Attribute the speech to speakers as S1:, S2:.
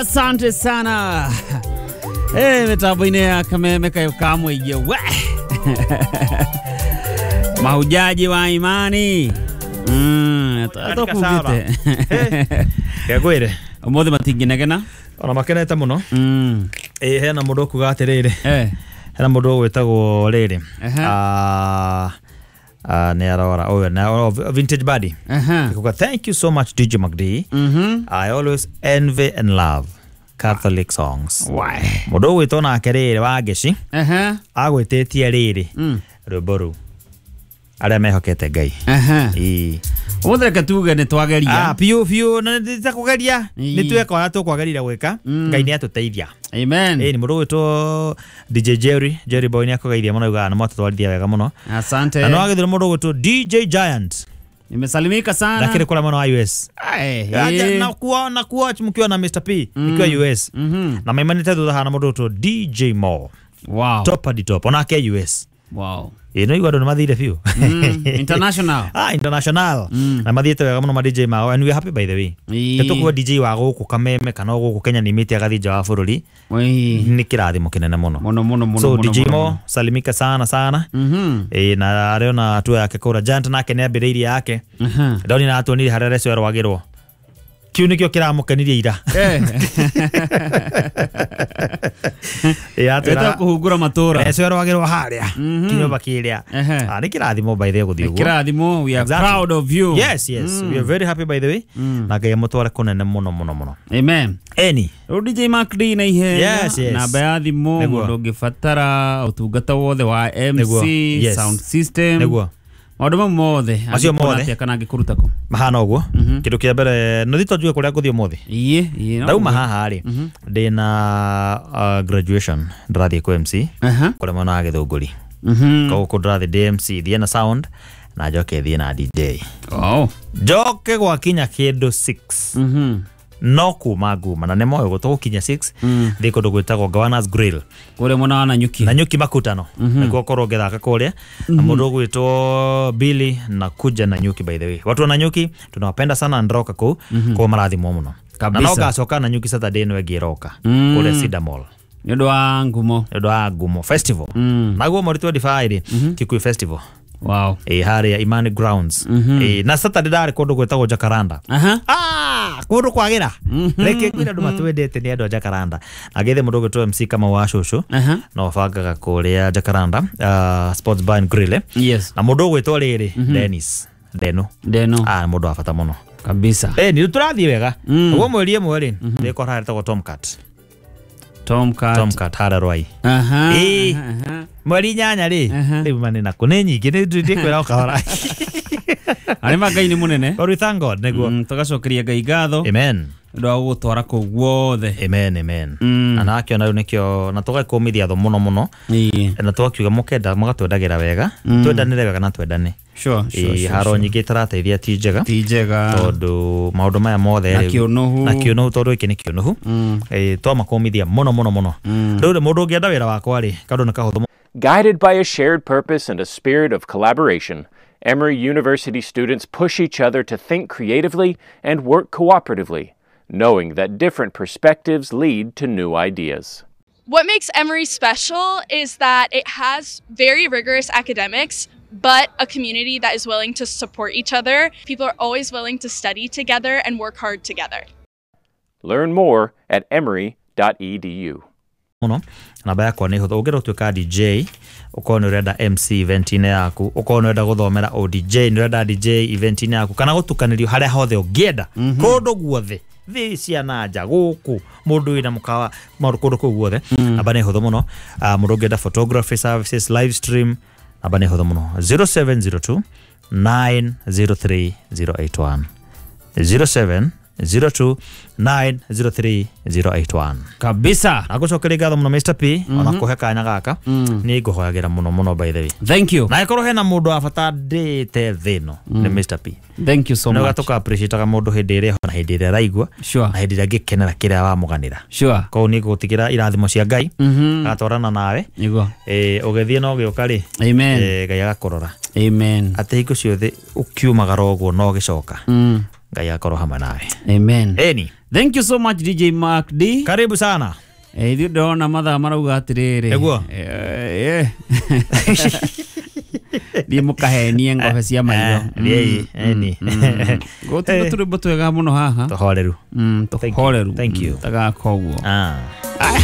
S1: Asante sana. Hey, mitambo-inĩ ya Kameme kayo kamũigie we. Mahujaji wa imani. Tũkugĩte.
S2: Ngwĩre.
S1: Ũmũthĩ matingĩnegena.
S2: Ona makenete mũno. Ĩ hena mũndũ ũkuga atĩrĩrĩ. Hena mũndũ ũgwĩtagwo rĩrĩ. Nĩ arora ũyũ na Vintage Buddy. Kuga thank you so much DJ McD. I always envy and love Catholic songs.
S1: Why?
S2: Mũndũ ũgwĩtwo nake rĩrĩ wa Ngeci. Agwĩtĩtie rĩrĩ. Rwĩmbo rũu. Arĩa mehokete Ngai. Ĩĩ.
S1: Ũmũthĩ reke tuge nĩ twageria.
S2: Biũ biũ na nĩ ta kũgeria. Nĩ tweka ũrĩa tũkwagĩrĩire gwĩka. Ngai nĩ atũteithia.
S1: Amen.
S2: Ĩĩ nĩ mũndũ ũgwĩtwo DJ Jerry, Jerry Boy nĩ akũgeithia mũno augaga nĩ mwatũtwarithia wega mũno.
S1: Asante.
S2: Na no agĩthire mũndũ ũgwĩtwo DJ Giant.
S1: Nimesalimika sana.
S2: Lakini kula mwana wa US. Na kuona kuwatch mkiwa na Mr P nikiwa US. Na maimanite thutha hana mũndũ ũgwĩtwo DJ Mo.
S1: Wow.
S2: Top at the top. Onake US.
S1: Wow.
S2: Ĩno igua andũ nĩ mathire biũ.
S1: International.
S2: International. Na mathiĩte wega mũno ma DJ mao and we are happy by the way. Tũkuwa DJ wa gũkũ Kameme kana gũkũ Kenya nĩ mĩte agathiĩ nja wa bũrũri. Nĩ kĩrathimo kĩnene mũno.
S1: Mũno mũno mũno.
S2: So DJ Mo salimika sana sana. Na arĩ ona hatua yake kũra Giant nake nĩ ambĩrĩirie yake. Ndoni na atuonire harĩa Reco erwagĩrwo. Kĩu nĩkĩo kĩramũkenirie ira.
S1: Ĩta kũhungura matũra.
S2: Reco erwagĩrwo harĩa kĩnyũmba kĩrĩa. Nĩ kĩrathimo by the way gũthiĩ ũguo.
S1: Kĩrathimo, we are proud of you.
S2: Yes, yes. We are very happy by the way. Na Ngai amũtware kũnene mũno mũno mũno.
S1: Amen.
S2: Eni.
S1: Rĩu DJ Mark D na ihenya.
S2: Yes, yes.
S1: Namba ya thimũ mũndũ ũngĩbatara ũtungata wothe wa MC, sound system.
S2: Nĩguo.
S1: Maũndũ mau mothe.
S2: Macio mothe.
S1: Kana angĩkũruta kũ?
S2: Mahana ũguo. Kĩndũ kĩa mbere no thito njue kũrĩa ngũthiĩ ũmũthĩ.
S1: Ĩĩ.
S2: Ndauma haha rĩ ndĩna graduation ndĩrathiĩ kwĩ MC kũrĩa mwena wa Gĩthũngũri. Koguo kũu ndĩrathiĩ ndĩ MC thiĩ na sound na njoke thiĩ na DJ. Njoke gwakinya kĩndũ 6. No kuma nguma na nĩ moĩ gũtũgũkinya 6 thiĩ kũndũ gwĩtagwo Governor's Grill
S1: kũrĩa mwena wa Nanyuki.
S2: Nanyuki makutano nĩkuo korwo ngĩthaka kũrĩa na mũndũ ũgwĩtwo Billy na kuja Nanyuki by the way. Watu wa Nanyuki tunawapenda sana ndroka kũu kũu marathimwo mũno. Na no ngacoka Nanyuki Saturday ĩno ĩngĩ ĩroka kũrĩa Cedar Mall.
S1: Nĩ ũndũ wa ngumo.
S2: Nĩ ũndũ wa ngumo festival. Naguo mweri 25 Kikuyu Festival.
S1: Wow.
S2: Harĩa Imani Grounds. Na Saturday ndarĩ kũndũ gwĩtagwo Jacaranda. Kũndũ kwagĩra. Reke kwĩra andũ matwendete nĩ andũ a Jacaranda. Agĩthe mũndũ ũgwĩtwo MC Kamau wa Cũcũ. No bangaga kũrĩa Jacaranda Sports Bar and Grill.
S1: Yes.
S2: Na mũndũ ũgwĩtwo rĩrĩ Dennis Deno.
S1: Deno.
S2: Mũndũ wa bata mũno.
S1: Kabisa.
S2: Nĩ tũrathiĩ wega. Ũguo mweri ĩmwe rĩ ndĩkora harĩa ĩtagwo Tomcat.
S1: Tomcat.
S2: Tomcat harĩa Rwai. Mweri 8 rĩ rĩu manĩ nako nĩ nyingĩ nĩ ndĩkwĩra o kahora.
S1: Arĩ ma Ngai nĩ mũnene.
S2: But we thank God nĩguo.
S1: Tũgacokeria Ngai ngatho.
S2: Amen.
S1: Ũndũ wa gũgũtwara kũu guothe.
S2: Amen, amen. Na nakĩona rĩu nĩkĩo na tũgakũmithia thũ mũno mũno. Na tũgakiuga mũkenda mũgatwendagĩra wega. Twendanĩre wega na twendane.
S1: Sure, sure, sure.
S2: Haro nyingĩ itarateithia ti njega.
S1: Ti njega.
S2: Tondũ maũndũ maya mothe
S1: na kĩũnũhu.
S2: Na kĩũnũhu tondũ gĩkĩ nĩ kĩũnũhu. Twamakũmithia mũno mũno mũno. Rĩu mũndũ ũngĩenda wĩra wakwa rĩ kaũndũ nĩ kahũthũ.
S3: Guided by a shared purpose and a spirit of collaboration, Emory University students push each other to think creatively and work cooperatively, knowing that different perspectives lead to new ideas.
S4: What makes Emory special is that it has very rigorous academics, but a community that is willing to support each other. People are always willing to study together and work hard together.
S3: Learn more at emory.edu.
S2: Mũno namba yakwa nĩ hũthũ ũngĩenda gũtuĩka DJ ũkorwo nĩ ũrenda MC event-inĩ yaku ũkorwo nĩ ũrenda gũthomera o DJ nĩ ũrenda DJ event-inĩ yaku kana gũtukanĩrio harĩa hothe ũngĩenda kũndũ guothe thĩ cia na nja gũkũ mũndũ wĩna mũkawa maũndũ kũndũ kũu guothe namba nĩ hũthũ mũno. Mũndũ ũngĩenda photography services live stream namba nĩ hũthũ mũno 0702 903 081 0702 903 081.
S1: Kabisa.
S2: Nagucokeria ngatho mũno Mr P ona kũhe kanya gaka nĩ ngũhoyagĩra mũno mũno by the way.
S1: Thank you.
S2: Na ĩkorwo hena mũndũ wa bata ndĩte thĩ ĩno nĩ Mr P.
S1: Thank you so much.
S2: Nĩ gatuka appreciate mũndũ hĩndĩ ĩrĩa na hĩndĩ ĩrĩa araigua na hĩndĩ ĩrĩa angĩkenera kĩrĩa wamũganĩra.
S1: Sure.
S2: Koguo nĩ ngũgũtigĩra irathimo cia Ngai agatwarana nawe.
S1: Nĩguo.
S2: Ũgĩthiĩ na ũgĩũka rĩ.
S1: Amen.
S2: Ngai agakũrora.
S1: Amen.
S2: Atĩ hingo ciothe ũkiumagara ũguo na ũgĩcoka Ngai akorwo hamwe nawe.
S1: Amen.
S2: Eni.
S1: Thank you so much, DJ Mark D.
S2: Karibu sana.
S1: Ithuĩ ndĩrona mathaa marauga atĩrĩrĩ.
S2: Nĩguo.
S1: Thiĩ mũkahenie ngobe cia maitho.
S2: Thiĩi, eni.
S1: Gũtirĩ tũrwĩmbo twega mũno haha.
S2: Tũhoreru.
S1: Tũhoreru.
S2: Thank you.
S1: Tagaka ũguo.
S2: Ah.
S1: Aya.